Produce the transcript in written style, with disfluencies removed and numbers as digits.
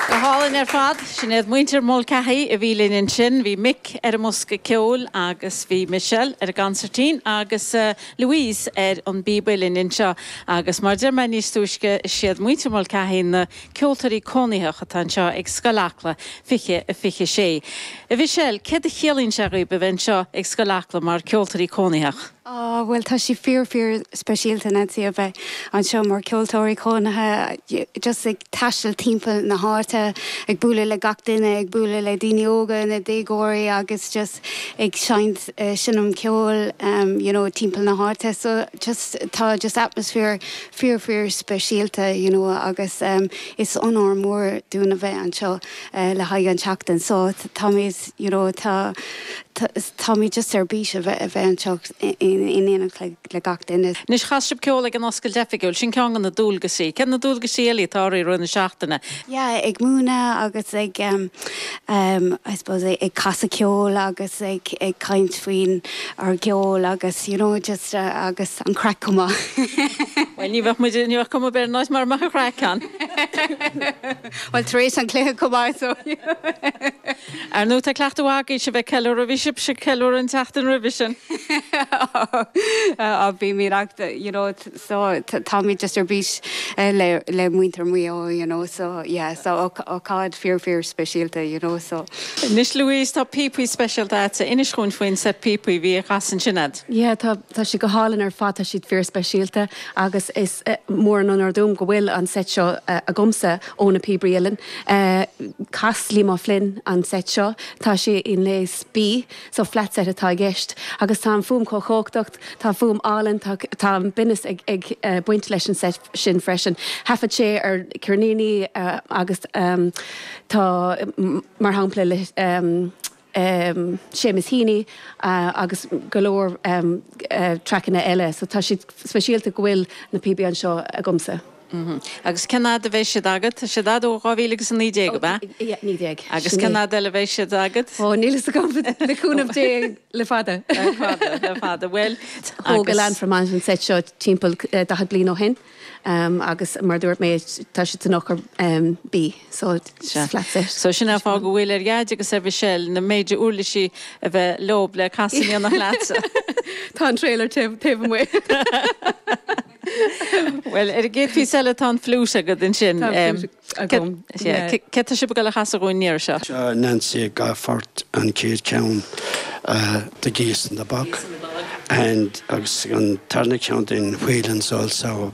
Go hálainn ar fad. Sin iad muintir Mulcahy a bhí linn ansin. Bhí Mick ar an mbosca ceoil agus bhí Michelle ar an gconsairtín agus Louise ar an bpíob uilleann anseo. Agus mar a deir mé níos túisce, is iad muintir Mulcahy na ceoltóirí cónaitheach atá anseo ag Scoil Acla 20 26. A Mhichelle, céard a chiallaíonn sé dhaoib a bheith anseo ag Scoil Acla mar ceoltóirí cónaitheach? Á, bhuel, tá sé fíor, fíor speisialta, Nancy, a bheith anseo mar ceoltóirí cónaithe, just ag taisteal timpeall na háite, ag bualadh le gach duine, ag bualadh le daoine óga, na déagóirí agus just ag seinnt, seinm ceoil, you know, timpeall na háite. So just, tá just atmaisféar fíor, fíor speisialta, you know, agus is onóir mór dúinn a bheith anseo le haghaidh an tseachtain. So táimid, you know, tá, táimid just ar bís a bheith, a bheith anseo in éineacht le, le gach duine. Anois chas sibh ceol ag an oscailt oifigiúil, sin ceann de na dualgaisí. Céard na dualgaisí eile atá oraibh i rith na seachtaine? Yeah, ag múineadh agus ag em I suppose ag casadh ceoil agus ag ag caint faoin ár gceol agus you know just agus an craic chomh maith. Bhuel ní bheadh muid, ní bheadh cuma ar bith ar an áit mura mbeadh an chraic ann. Bhuel tar éis an chluiche chomh maith so. Ar ndóigh tá cleachtadh agaibh sibh ag ceiliúradh, bhí sibhse ag ceiliúradh an tseachtain roimhe sin. Á bímid ach you know so táimid just ar bís le le muintir Mhaigh Eo you know so yeah so ócáid fíor fíor speisialta you know so. Anois Louise tá píopaí speisialta agatsa, inis dhúinn faoin set píopaí a bhí á chasadh ansin a'd. Yeah tá tá siad go hálainn ar fad, tá siad fíor speisialta agus is mór an onóir dom go bhfuil an set seo agamsa ó na Píobairí Uilleann. Chas Liam O'Flynn an set seo, tá sé i ngléas B, so flat set atá i gceist agus tá an fuaim chomh chumhachtach, tá fuaim álainn, tá tá an binneas ag ag baint leis an set sin freisin. Thaifead sé ar ceirníní agus tá mar shampla le Seamus Heaney agus go leor traiceanna eile so tá siad speisialta go bhfuil na píobaí anseo agamsa. Agus cén fhad a bheidh siad agat? Tá siad a'd ó 2019, ab ea? Yeah, 19. Agus cén fhad eile a bheidh siad agat? Ó, níl fhios agam, le cúnamh Dé, le fada. Le fada, le fada. Bhuel, Thóg Alain Fromage an seit seo timpeall 40 bliain ó shin. Agus mar a dúirt mé, tá siad san eochair B, so it's flat set. So sin an fáth go bhfuil ar Dhaid agus ar Mhichelle na méide uirlisí a bheith leob le casadh in éineacht leatsa. Tá an trailer taobh amuigh. Bhuel, ar an gcéad phíosa eile tá an fliúit agat ansin. Tá an fliúit agam. Céard tá sibh ag dul a chasadh dhúinn an iarraidh seo? Seo Nancy ag gabháil fort an chéad cheann The Geese in the Bog and agus an tarna ceann den Whelan's also.